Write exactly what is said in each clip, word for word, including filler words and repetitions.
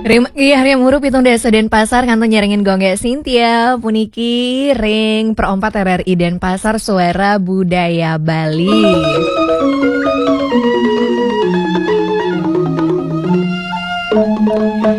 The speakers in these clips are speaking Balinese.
Ring, iya, ring umur pitung dasa Denpasar kantun nyarengin Gung Gé Cynthia puniki ring Pro empat R R I Denpasar, Suara Budaya Bali.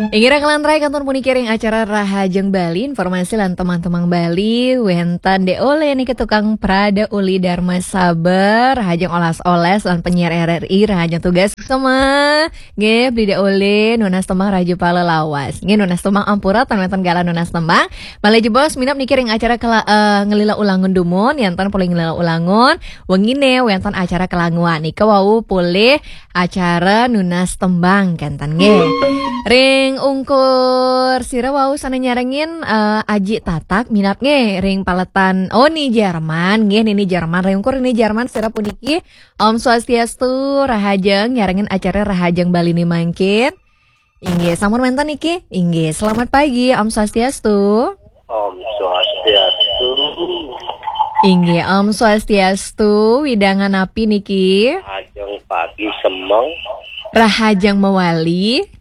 Inggih, ring kalantaran kantun puniki ring acara Rahajeng Bali, informasi lan tembang-tembang Bali, wénten Dé Olé niki tukang prada uli Dharma Sabar, rahajeng olas-olas lan penyiar R R I, rahajeng tugas semua. Nggih, Beli Dé Olé, nunas tembang Raja Pala Lawas. Nggih, nunas tembang ampura, tan wénten galah nunas tembang. Malih jebos, minab niki ring acara kela-, eh, ngelila ulangun dumun, yén tan polih ngelila ulangun, wenginé wénten acara kelanguan. Nika wau polih acara nunas tembang, kénten nggih. Ring ungkur sira wau sané nyarengin, eh, Aji Tatak, minab nggih, ring paletan, oh, Ni Jerman, nggih, Nini Jerman, ring ungkur Ni Jerman sira puniki, Om Swastiastu, rahajeng, nyarengin acara Rahajeng Bali ni mangkin. Inggih, sampun wénten niki? Inggih, selamat pagi, Om Swastiastu. Om Swastiastu. Inggih, Om Swastiastu, wewidangan napi niki? Rahajeng pagi semeng. Rahajeng mawali.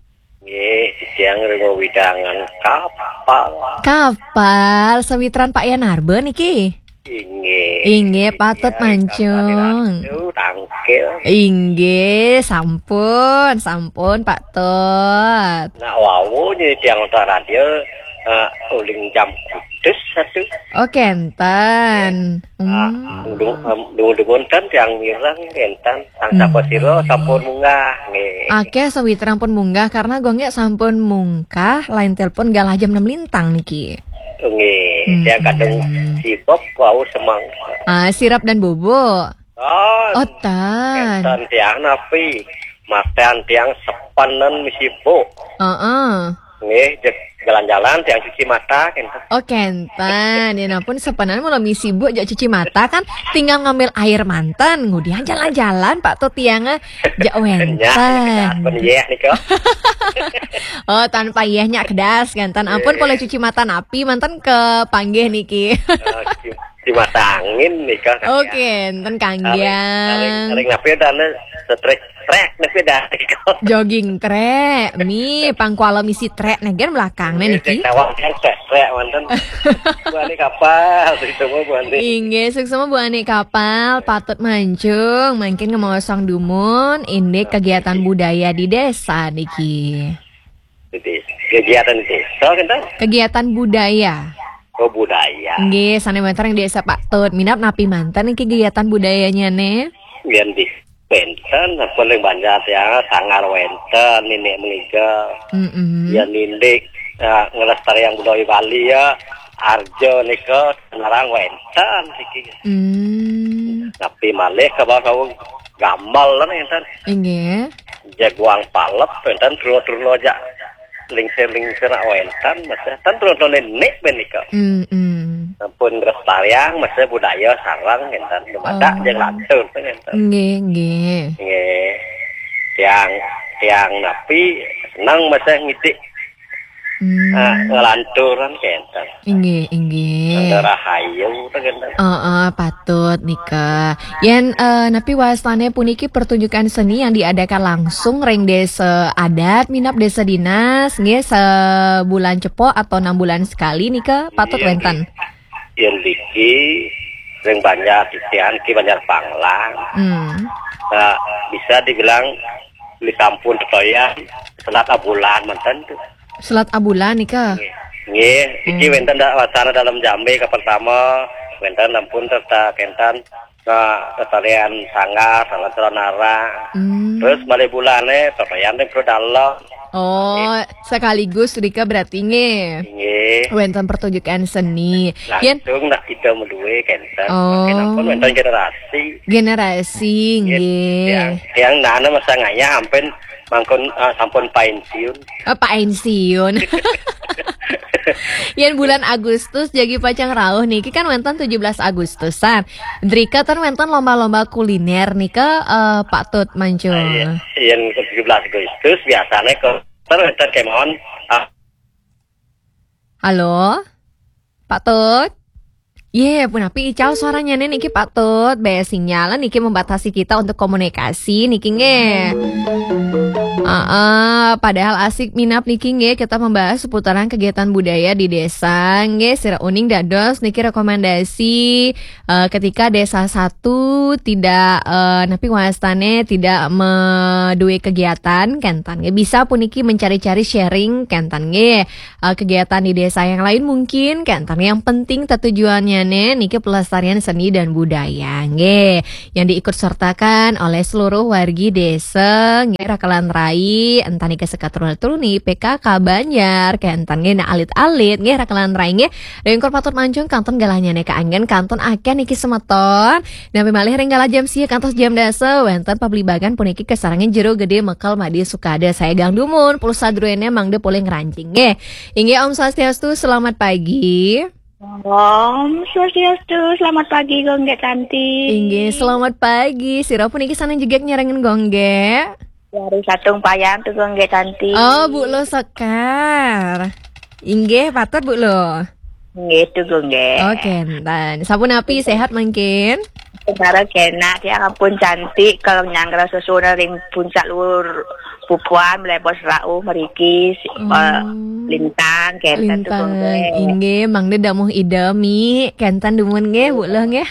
Nggih, titiang ring wewidangan Kapal. Kapal, sawitran Pak Yan Arba niki? Inggih. Inggih, patut mancung. Ratu Tangkil. Inggih, sampun, sampun, Pak Tut. Nak wau niki tiang nonton radio, eh, uling jam kudus satu. Oh, kénten. Ah, hmm. Dung, em, dung, dung ten tiang mireng, kénten. Sang sapa sira sampun munggah, nggih. Akéh sawitran pun munggah karena Gung Gé sampun mungkah, line telepon galah jam enam lintang niki. Nggih, hmm, tiang kadung sibuk wau semeng. Ah, sirap dan bubuk. Oh, oh, tan. Kénten tiang napi? Matan tiang sepenan misi buk. Heeh. Nggih, jeg jalan-jalan tiang cuci mata, kénten. Oh, kénten. Yén ampun sepenan mula misi buk jak cuci mata kan tinggal ngambil air manten, ngudian jalan-jalan, Pak Tut tiang, eh, jak wénten. Nyak, nyak, nyak, nyak. Oh, tanpa yéh nyak kedas, kénten. Ampun, nggih, polih cuci mata napi, manten kepanggih niki. Eh, cuci, cuci mata angin nika, kan, oh, ya. Kénten kanggé. Ring, ring, ring napi dana setrek, trek napi dana nika. Jogging trek, mi pangkuala misi trek niki belakang né niki. Cek nawang kan trek, trek, manten. Bu Ani Kapal, suksma Bu Ani. Inggih, suksma Bu Ani Kapal, patut mancung, mangkin ngemaosang dumun, indik kegiatan budaya di desa niki. Di desa. Kegiatan desa, kan? Kegiatan budaya. Oh, budaya. Nggih, sané wénten ring desa Pak Tut. Minab napi manten niki kegiatan budayanya né? Yén di wénten, paling banyak ya, sanggar wénten, nini mengiga. Mm-mm. Ya, nindik, ya, ngelestariang budaya Bali ya, arja nika, senarang wénten niki. Hmm. Napi malih ka bawah gamal lan enten. Inggih. Jaguang palep, enten truna-truna jak lingsir-lingsir nak wénten, masih tan truna-truna nenek ben nika. Hmm, hmm. Sampun nglestariang, masih budaya sareng enten. Dumadak, oh, jeng lantur, enten. Nggih, nggih. Nggih. Tiang, tiang napi, seneng masih ngidik. Hmm. Ah, nglanturan kénten. Inggih, inggih. Ada rahayu, kénten. Heeh, patut nika. Yén, eh, napi wastané puniki pertunjukan seni yang diadakan langsung ring desa adat, minab desa dinas, nggih, sebulan cepok atau enam bulan sekali nika patut, iya, wénten. Yén niki ring Banjar titian, ki Banjar Panglang. Hmm. Nah, bisa dibilang di sampun tetoyan selat abulan manten tuh. Selat abulan nika? Nggih. Nggih, iki, hmm, wénten da-, wacana dalam jambe ka pertama, wénten ampun serta kénten, nah, lestarian sanggar, salah nara. Hmm. Terus malih bulané, tetoyan ring Pro Dalem. Oh, nggih, sekaligus rika berarti nggih. Nggih. Wénten pertunjukan seni. Yén langsung nak kita melué kénten. Oh. Makin ampun wénten generasi. Generasi, nggih, nggih. Tiang, tiang nana masa ngayah ampun mangkun, ah, sampun pensiun. Oh, pensiun. Yén bulan Agustus jagi pacang rauh niki kan wénten tujuh belas Agustusan. Drika ten wénten lomba-lomba kuliner nika, eh, Pak Tut mancung. Ah, iya. Yén tujuh belas Agustus biasanya ke Ter, ter kemawon. Ah. Halo? Pak Tut? Yé, punapi ical suaranya nih niki Pak Tut. Bé sinyal niki membatasi kita untuk komunikasi niki nggih. Heeh, padahal asik minab niki nggih, kita membahas seputaran kegiatan budaya di desa nggih. Sira uning dados niki rekomendasi, eh, ketika desa satu tidak, eh, napi wastane tidak meduwe kegiatan kenten nggih. Bisa puniki mencari-cari sharing kenten nggih. Eh, kegiatan di desa yang lain mungkin kenten. Yang penting tetujuannya niki pelestarian seni dan budaya nggih. Yang diikut sertakan oleh seluruh wargi desa nggih, rakelan rai, entah niki sekat truna-truni, P K K Banjar, kenten nggih, nah alit-alit nggih, rakelan rai nggih. Ringkur patut mancung kenten galahnya nggih, kaanggen kantun akeh niki semeton. Napi malih ring galah jam sia kantos jam dasa, wenten pablibagan puniki kasarengin jero gede mekel madi sukada. Saya gang dumun, pulsa druene mangda polih ngerancing nggih. Inggih Om Swastiastu, selamat pagi. Om Swastiastu, selamat pagi Gung Gek Tanti. Inggih, selamat pagi. Sira puniki sanes jegek nyarengin Gung Gek? Dari Satung Payan tu Gung Gek Tanti. Oh, Bu Lo Sekar. Inggih, patut Bu Lo. Nggih tu Gung Gek. Oke, kenten. Sapunapi, sehat mangkin? Sekarang kena dia ampun cantik kalau nyanggra sesudah ring puncak luhur pupuan melebos rauh meriki si- Oh. eh, lintang kenten tu Lintang. Gung Gek. Inggih, mangda damuh Ida mi kenten dumun nggih, Bu Lo nggih.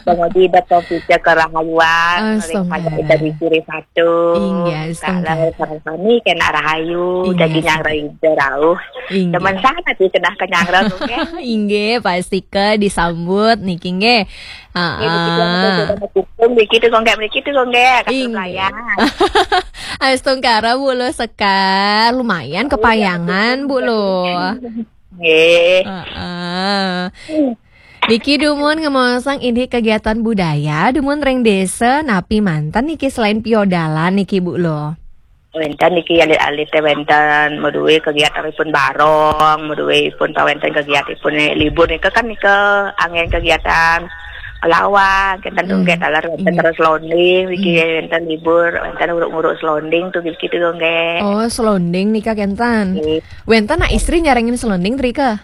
Pangudi ida komputer kerahayuan, Oh, ring payah ida di kiri satu. Inggih, kalau sarang kami kena rahayu, inggih, jadi nyanggra ida rauh. Inggih. Teman sana tu kena ke nyanggra tu nggih. Inggih, pasti ke disambut niki nggih. Nggih, begitu, Heeh. Begitu Gung Gek, begitu Gung Gek, kasih Inggih. Pelayan. Astungkara Bu Lo Sekar, lumayan kepayangan Bu Lo. Nggih. Heeh. Niki dumun ngemaosang indik kegiatan budaya dumun ring desa, napi manten niki selain piodalan niki Bu Lo? Wenten niki alit-alit teh wenten meduwe kegiatan ipun barong, meduwe ipun pawenten kegiatan ipun libur nika kan nika anggen kegiatan lawan kenten Gung Gek taler wenten terus selonding niki wenten libur wenten uruk-uruk selonding tu gitu Gung Gek. Oh, selonding nika kenten. Nggih. Wenten nak istri nyarengin selonding trika?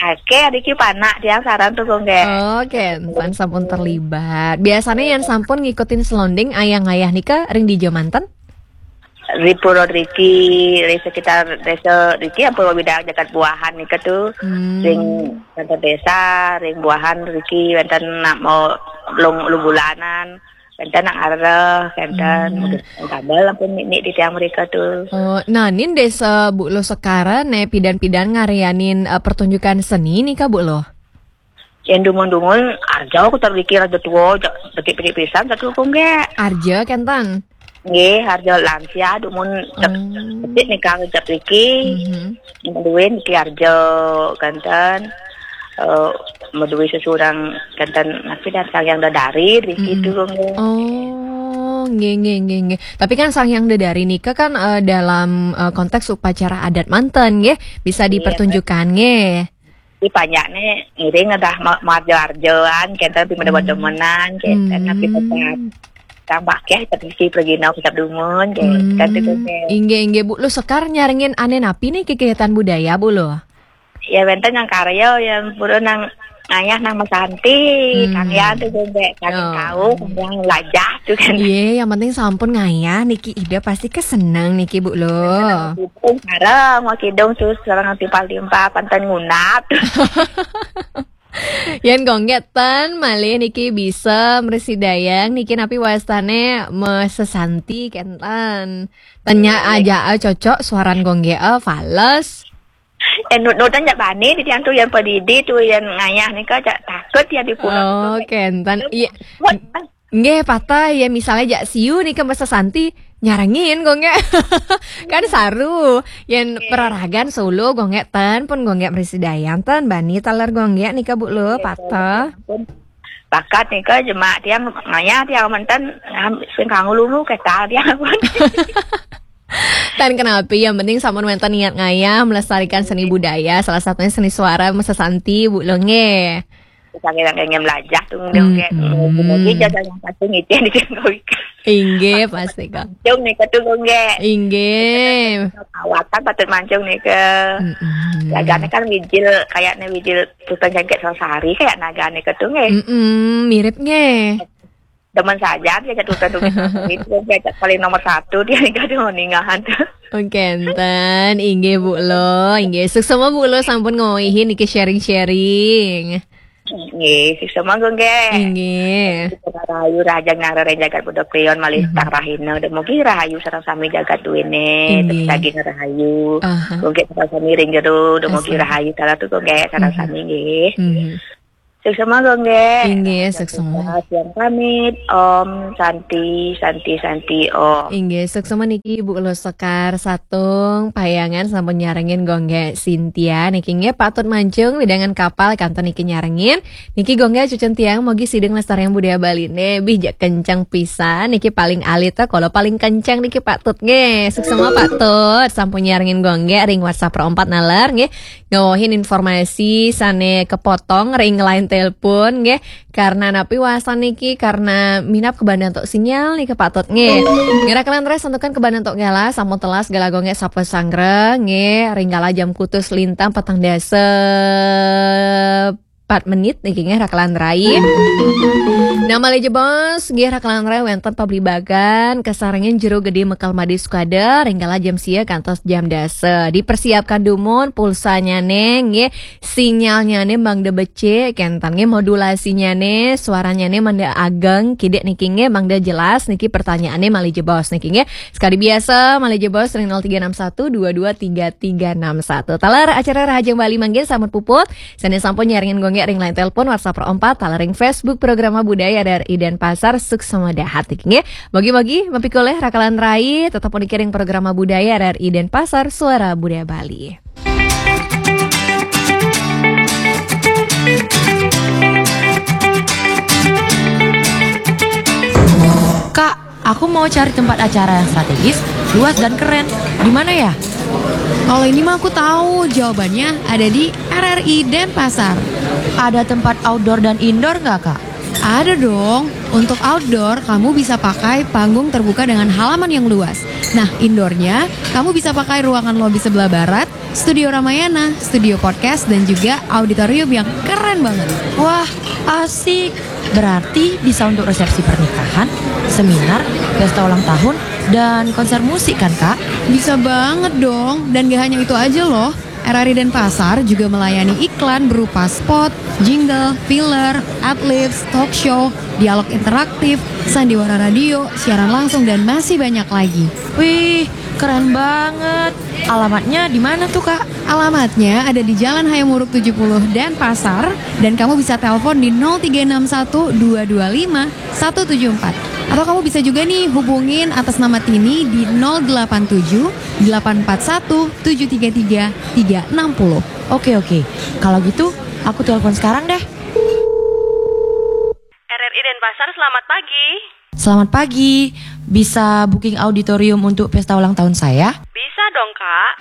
Ake adiki panak tiang sareng tu Gung Gek. Oh, kenten sampun terlibat. Biasanya yang sampun ngikutin selonding ayah-ayah nika ring dija manten? Di pura riki, di sekitar desa riki ampun widang jagat buahan nika tu. Hmm. Ring kantor desa, ring buahan riki wenten nak mau lung lung bulanan, wenten nak ngareh, wenten Hmm. Tambah ampun nik di tiang mereka tu. Oh, nah, nin desa Bu Lo Sekar ne pidan-pidan ngarianin eh, pertunjukan seni nika Bu Lo? Yang dumun-dumun arja aku terpikir aja tua, betik-betik pisan satu Gung Gek. Arja kenten. Nggih, harga lansia dumun cek Hmm. Cek nika cek riki. Mhm. Duwe niki harga kenten. Eh, meduwe sesurang kenten napi dan sang yang dadari riki Mm-mm. Durung nggih. Oh, nggih nggih nggih nggih. Tapi kan sang yang dadari nika kan eh, dalam eh, konteks upacara adat manten nggih, bisa Iya. Dipertunjukkan nggih. Di panjakne ngiring dah ma- marjo-arjoan kenten pi Hmm. Demenan kenten Hmm. Napi tetap. Tambah ke tapi si pergi nau kitab dumun kenten. Hmm. Kenten tu nggih. Inggih inggih Bu, Lo Sekar nyarengin ane napi nih kegiatan budaya Bu Lo? Ya wenten yang karya yang pura nang ayah nang mesanti, hmm. Kang Yan tu Gung Gek, kang oh. Kau, yang lajah tu kan. Iya, yang penting sampun ngayah niki ida pasti keseneng niki Bu Lo. Kidung sareng, mau kidung sus sareng timpal-timpal panten ngunap. Yen Gung Gek ten malih niki bisa mresidayang niki napi wastane mesesanti kenten. Tenya aja eh, cocok suaran Gung Gek eh, fales. Eh, nut-nutan jak bani di tiang tu yang pedidi tu yang ngayah nika jak takut ya di pulau. Oh, kenten. Iya. Nggih, patah ya misalnya jak siu nika mesesanti nyarengin Gung Gek. Kan saru. Yen peraragan solo Gung Gek ten pun Gung Gek mresidayang ten bani taler Gung Gek nika Bu Lo patah. Bakat nika jemak tiang ngayah tiang menten ngam- sing kanggo lulu ketal tiang pun. Tan kenapi yang penting sampun wenten niat ngayah melestarikan seni budaya, salah satunya seni suara mesesanti Bu Lo nggih. Sange-sange lajah tu Gung Gek. Mm-mm. Mugi jasa yang pasti ngicen di Gung Gek. Inggih, pasti kok. Cung nika tu Gung Gek. Inggih. Awatan patut mancung nika. Mm-mm. Lagane kan wijil kayakne wijil tukang jangkit sasari kayak naga nika tu nggih. Mm-mm, mirip nggih. Demen saja dia jatuh itu, dia paling nomor satu dia nggak ada ningahan. Oke, enten, inggih Bu Lo, inggih. Suksma Bu Lo sampun ngawihi niki sharing-sharing. Nggih, suksma Gung nggih. Inggih. Rahayu rahajeng ngareng jagat Buda Kliwon malih tang rahina. Dumugi rahayu sareng sami jagat duwene, Inggih. daging rahayu. Aha. Gung nggih sareng sami ring jero, dumugi Asik. Rahayu sareng tu Gung nggih sareng sami nggih. Mhm. Suksma Gung nggih. Inggih, suksma. Yang pamit, Om Santi, Santi, Santi, Om. Inggih, suksma niki Bu Lo Sekar Satung Payangan sampun nyarengin Gung nggih Sintia niki nggih patut mancung wewidangan kapal kantun niki nyarengin. Niki Gung nggih cucen tiang mogi sida nglestariang budaya Bali ne bih jak kenceng pisan niki paling alit to kalau paling kenceng niki patut nggih. Suksma patut sampun nyarengin Gung nggih ring WhatsApp Pro empat naler nggih. Ngawohin informasi sane kepotong ring line telepon nggih. Karena napi wasan niki karena minab kebandan tok sinyal niki patut nggih. Ngira kalian res santukan kebandan tok gala sampun telas gala Gung nggih sapa sanggra nggih ring gala jam kutus lintang petang dasa empat menit niki nggih rakalan rai. Nah malih jebos nggih rakalan rai wenten pablibagan kasarengin Jero Gede Mekal Made Sukada ring gala jam sia kantos jam dasa. Dipersiapkan dumun pulsanyane nggih sinyalnyane mangda becik kenten nggih modulasinyane suaranyane mangda ageng kidik niki nggih mangda jelas niki pertanyaane malih jebos niki nggih. Sekali biasa malih jebos ring nol tiga enam satu dua dua tiga tiga enam satu. Taler acara Rahajeng Bali mangkin sampun puput. Sane sampun nyarengin Gung nggih ring line telepon WhatsApp Pro empat taler ring Facebook Programa Budaya R R I Denpasar suksma dahat niki nggih. Mogi-mogi mapikolih rakalan rai tetep puniki ring Programa Budaya R R I Denpasar Suara Budaya Bali. Kak, aku mau cari tempat acara yang strategis, luas dan keren. Di mana ya? Kalau ini mah aku tahu jawabannya ada di R R I Denpasar. Ada tempat outdoor dan indoor nggak, Kak? Ada dong. Untuk outdoor, kamu bisa pakai panggung terbuka dengan halaman yang luas. Nah, indoornya, kamu bisa pakai ruangan lobi sebelah barat, studio Ramayana, studio podcast, dan juga auditorium yang keren banget. Wah, asik. Berarti bisa untuk resepsi pernikahan, seminar, pesta ulang tahun, dan konser musik kan, Kak? Bisa banget dong. Dan gak hanya itu aja loh. R R I Denpasar juga melayani iklan berupa spot, jingle, filler, adlibs, talk show, dialog interaktif, sandiwara radio, siaran langsung, dan masih banyak lagi. Wih, keren banget. Alamatnya di mana tuh, Kak? Alamatnya ada di Jalan Hayam Wuruk tujuh puluh Denpasar, dan kamu bisa telepon di nol tiga enam satu dua dua lima satu tujuh empat. Atau kamu bisa juga nih hubungin atas nama Tini di nol delapan tujuh delapan empat satu tujuh tiga tiga tiga enam nol. Oke, oke. Kalau gitu, aku telepon sekarang deh. R R I Denpasar, selamat pagi. Selamat pagi. Bisa booking auditorium untuk pesta ulang tahun saya? Bisa dong, Kak.